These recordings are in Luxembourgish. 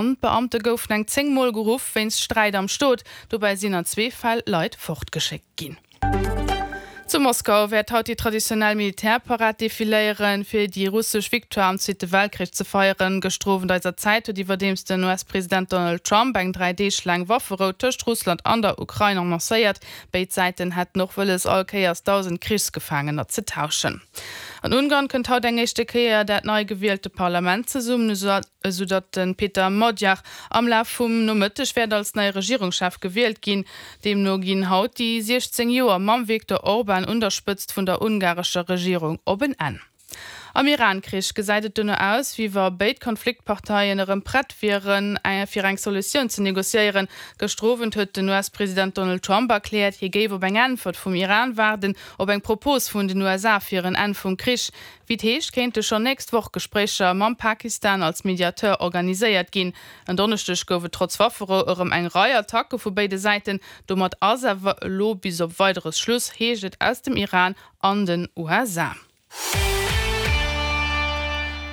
D'Beamte goufen eng 10 Mol geruff wéinst Sträit am Stot. Dobäi sinn an zwee Fäll Leit fortgeschéckt ginn. Zu Moskau wäert haut déi traditionell Militärparad defiléieren, fir déi russesch Victoire am Zweete Weltkrich ze feieren. Gëschter Owend eiser Zäit huet iwwerdeems den US-President Donald Trump eng 3 Deeg laang Wafferou tëscht Russland an der Ukrain annoncéiert. Béid Säiten hätten och wëlles, all Kéiers 1.000 Krichsgefaangener ze tauschen. An Ungarn kënnt haut eng éischte Kéier dat nei gewielte Parlament zesummen. Esou datt de Peter Magyar am Laf vum Nomëtteg wäert als neie Regierungschef gewielt ginn. Deemno ginn haut déi 16 Joer mam Viktor Orban un der Spëtzt vun der ungarescher Regierung op en Enn. Am Iran-Krich gesäit et dono aus, wéi wa béid Konfliktparteien erëm prett wieren, fir eng Solutioun ze negociéieren. Gëschter Owend huet den US-President Donald Trump erkläert, hie géif op eng Äntwert vum Iran waarden, op eng Propos vun den USA fir en Enn vum Krich. Wéi et heescht, kéinte schonn nächst Woch Gespréicher mam Pakistan als Mediateur organiséiert ginn. En Donneschdeg gouf et trotz Wafferou erëm eng Rei Attacke vu béide Säiten. Domat ass awer elo bis op Weideres Schluss, heescht et aus dem Iran an den USA.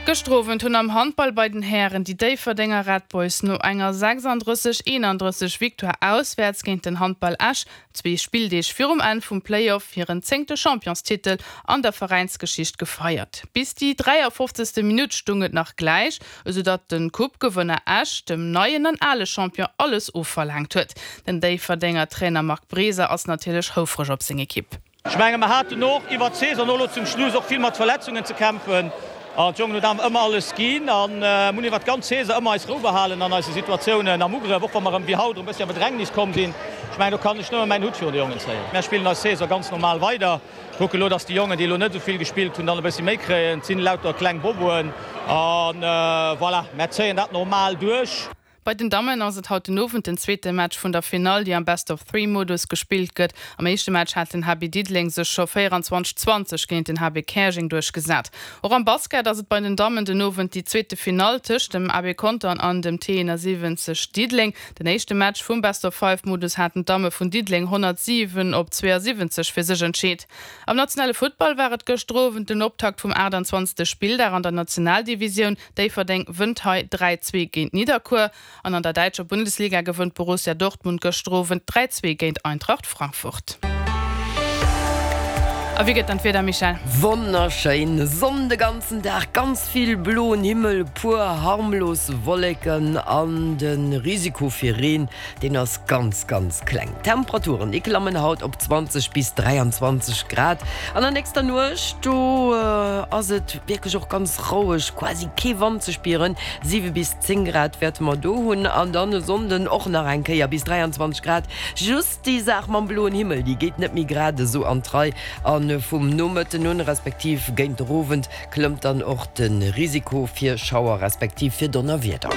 Gëschter Owend hunn am Handball bei den Hären déi Déifferdenger Red Boys no enger 36, 31 Victoire auswäerts géint den Handball Esch Zwee Spilldeeg virum Enn vum Play-Off hiren zéngte Championstitel an der Veräinsgeschicht gefeiert. Bis déi 53. Minutt stung et nach gläich, esou datt de Coupe-Gewënner Esch dem neien an ale Champion alles ofverlaangt huet. Den Déifferdenger Trainer Marc Breser ass natierlech houfreg op seng Ekipp. Ech menge mer haten och iwwert d'Saison elo zum Schluss och vill mat Verletzungen ze kämpfen an d'Jongen hunn awer ëmmer alles ginn an hunn iwwert d'ganz Saison ëmmer eis Rou behalen an eise Situatiounen am Ugrëff, och wa mer erëm wéi haut erëm e bëssi a Bedrängnis komm sinn. Ech mengen do kann ech nëmme mäin Hutt virun de Jongen zéien. Mär spillen eis Saison ganz normal weider, kucke elo, dass déi Jongen, déi elo net esou vill gespillt hunn, dann e bëssi méi kréien. Et sinn lauter kleng Boboen an voilà, mär zéien dat normal duerch. Bei den Dammen ass et haut den Owend den zweete Match vun der Finall, déi am Best-of-Three-Modus gespillt gëtt. Am éischte Match hat den HB Diddeleng sech scho 24, 20 géint den HB Käerjeng duerchgesat. Och am Basket ass et bei den Dammen den Owend déi zweete Finall tëscht dem AB Contern an dem T71 Diddeleng. Den éischte Match vum Best-of-Five-Modus haten d'Damme vun Diddeleng 107 op 72 fir sech entscheet. Am nationale Futtball war et gëschter Owend den Optakt vum 28. Spilldag an der Nationaldivisioun. Déifferdeng wënnt hei 3, 2 géint Nidderkuer an an der däitscher Bundesliga gewënnt Borussia Dortmund gëschter Owend 3, 2 géint Eintracht Frankfurt. A wéi gëtt dann d'Wieder, Michèle? Wonnerschéin Sonn de ganzen Dag, ganz vill bloen Himmel, puer harmlos Wolleken an de Risiko fir Reen Deen ass ganz, ganz kleng. D'Temperaturen, déi klammen haut op 20 bis 23 Grad. An der nächster Nuecht, do ass et wierklech och ganz roueg, quasi kee Wand ze spieren. 7 bis 10 Grad wäerte mer do hunn. An dann e Sonnden och nach eng Kéier bis 23 Grad. Just déi Saach mam bloen Himmel, déi geet net méi grad esou an d'Rei. A vum Nomëtten un, respektiv géint der Owend, klëmmt dann och de Risiko fir Schauer respektiv fir Donnerwieder.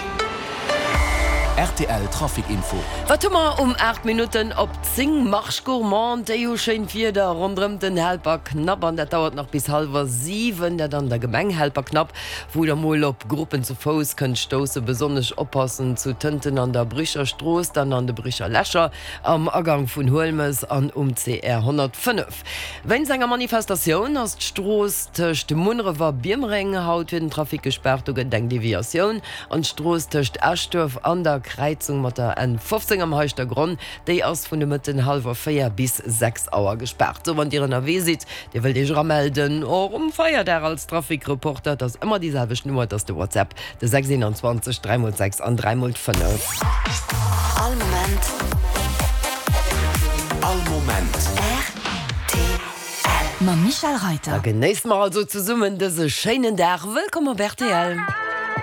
Rtl Trafic Info. Wat hu mer um 8 Minutten op 10? Marche Gourmande, déi hu schéint Wieder ronderëm den Helperknapp an dat dauert nach bis hallwer 7, dat an der Gemeng Helperknapp, wou der mol op Gruppen zu Fouss kënnt stoussen. Besonnesch oppassen zu Tënten an der Bricher Strooss, dann an de Bricher Lächer, am Agang vun Huelmes an um CR 105. Wéinst enger Manifestatioun ass d'Strooss tëscht Munneref a Biermereng haut fir den Trafic gespaart. Do gëtt et eng Deviatioun. An d'Strooss tëscht Eschduerf an der Kräizung mat der N 15 am Heischtergronn, déi ass vun de Mëtten hallwer 4 bis 6 Auer gespaart. Sou, wann Dir ënnerwee sidd, Dir wëllt Iech eramelden, och um Feierdag als Trafic-Reporter, et ass ëmmer déi selwecht Nummer, et ass de WhatsApp, De 6 21, 3 mol 6 an 3 mol 5. All Moment. All Moment. Rtl. Mam Michèle Reiter. Da genéisse mer also zesummen dëse schéinen Dag. Wëllkomm op rtl.